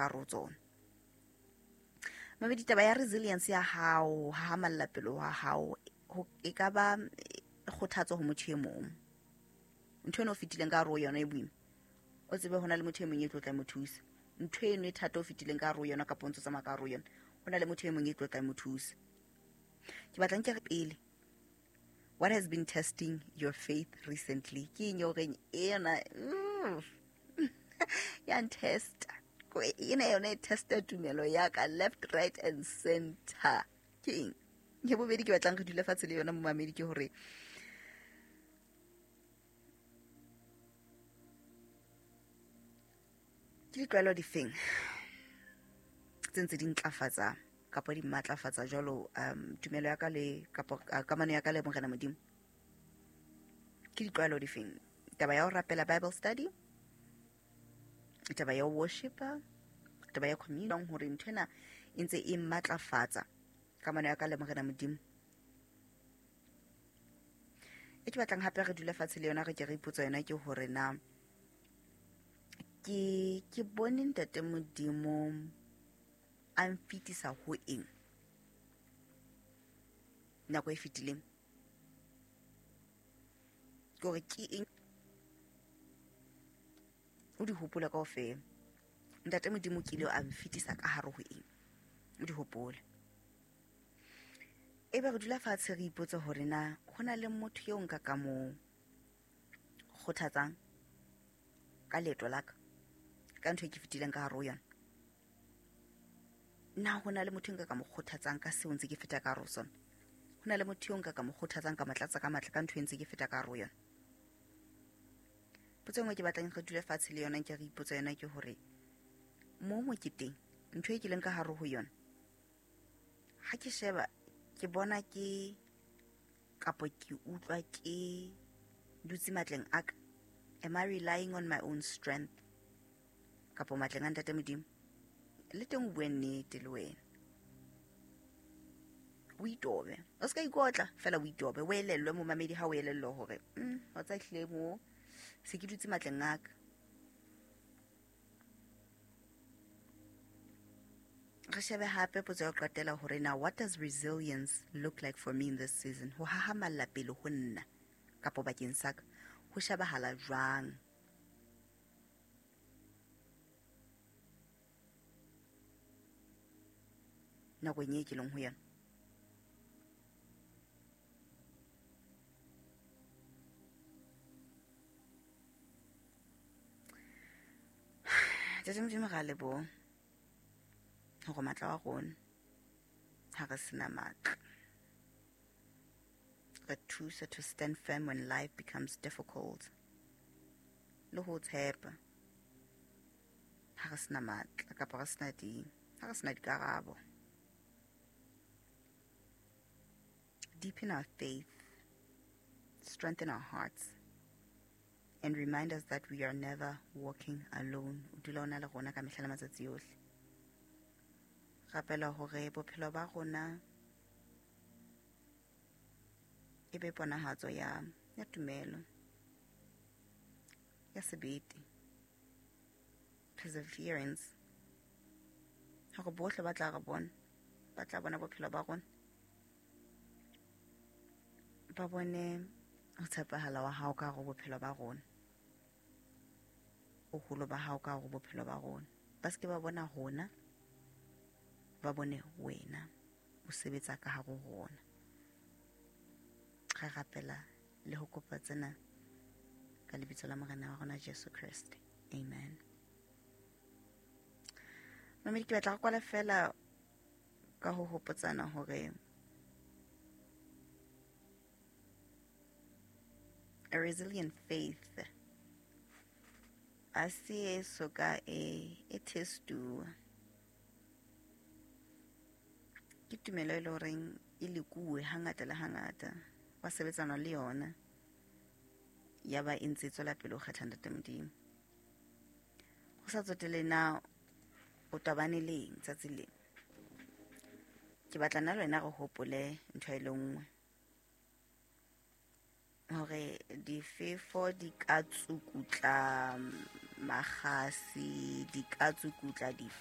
ka hare ho tsona. Mamedi, taba ya resilience ya hao, hahamalla pelo wa hao, e ka ba kgothatso ho motho e mong. Ntho eno o fetileng ka hare ho yona e boima, o tsebe ho na le motho e mong e tlo tla mo thusa. Ntho eno e thata o fetileng ka hare ho yona kapa o ntso tsamaya ka hare ho yona, ho na le motho e mong e tlo tla mo thusa. Ke batla nke re pele, what has been testing your faith recently? Ke eng eo reng ena ya ntesta, ena yona e testa tumelo ya ka left, right and center. Ke eng ya bobedi ke batlang re dule fatshe le yona momamedi, ke hore ke ditlwaelo difeng tse ntse di ntlafatsa kapa di matlafatsa jwalo tumelo ya ka le kapa kamano ya ka le Morena Modimo? Ke ditlwaelo difeng? Taba ya ho rapela, Bible study, taba ya ho worshipa, taba ya communion, hore ntho ena e ntse e matlafatsa kamano ya ka le Morena Modimo. E ke batlang hape re dule fatshe le yona, re ke re ipotsa yona, ke hore na ke bone Ntate Modimo a mfetisa ho eng nako e fetileng, ke hore ke eng o di hopola kaofela. Ntate Modimo kile a mfetisa ka hare ho eng, o di hopole. Ebe re dula fatshe re ipotse hore na ho na le motho eo nka ka mo kgothatsang ka leeto la ka, ka ntho e ke fetileng ka hare ho yona. Na ho na le motho nka ka mo kgothatsang ka seo ntse ke feta ka hare ho sona? Ho na le motho eo nka ka mo kgothatsang ka motlatsa ka matla ka ntho e ntse ke feta ka hare ho yona? Potso e nngwe ke batlang re dule fatshe le yona, nke re ipotsa yona, ke hore mo moketeng ntho e ke leng ka hare ho yona, ha ke sheba ke bona ke kapo ke utlwa ke dutse matleng a ka, am I relying on my own strength kapo matleng a Ntate Modimo? Le teng o bue nnete le wena, o itobe, o se ka ikotla fela, o itobe, o elellwe momamedi. Ha o elellwe hore wa tsa ehlile mo se ke dutse matleng a ka. Re shebe hape potso ya ho qetela hore na what does resilience look like for me in this season? Ho hahamalla pele ho nna kapo bakeng sa ka ho shebahala jwang nakong e ke leng ho yona? Ntate Modimo, ra leboha hore matla wa rona ha re sena matla, re thusa to stand firm when life becomes difficult, le ho tshepa ha re sena matla kapa re sena di ha re sena dikarabo. Deepen our faith, strengthen our hearts, and remind us that we are never walking alone. O dula o na le rona ka mehla le matsatsi ohle. Rapela hore bophelo ba rona e be ponahatso ya tumelo, ya sebete, perseverance, hore bohle ba tla re bona, ba tla bona bophelo ba rona, ba bone ho tshepahala wa hao ka hare ho bophelo ba rona, boholo ba hao ka hare ho bophelo ba rona. Ba se ke ba bona rona, ba bone wena o sebetsa ka hare ho rona. Re rapela le ho kopa tsena ka lebitso la Morena wa rona Jesu Kreste, amen. Mamedi, ke batla go kwala fela ka ho hopotsana hore a resilient faith a se e soka e testuwa. Ke tumelo e le horeng e lekuwe hangata le hangata, wa sebetsana le yona, ya ba e ntse e tswela pele ho kgetha Ntate Modimo. Ho sa tsotele na o tobane le eng tsatsi leng, ke batla nna le wena re hopole ntho e le nngwe, hore difefo di ka tsukutla makgasi, di ka tsukutla.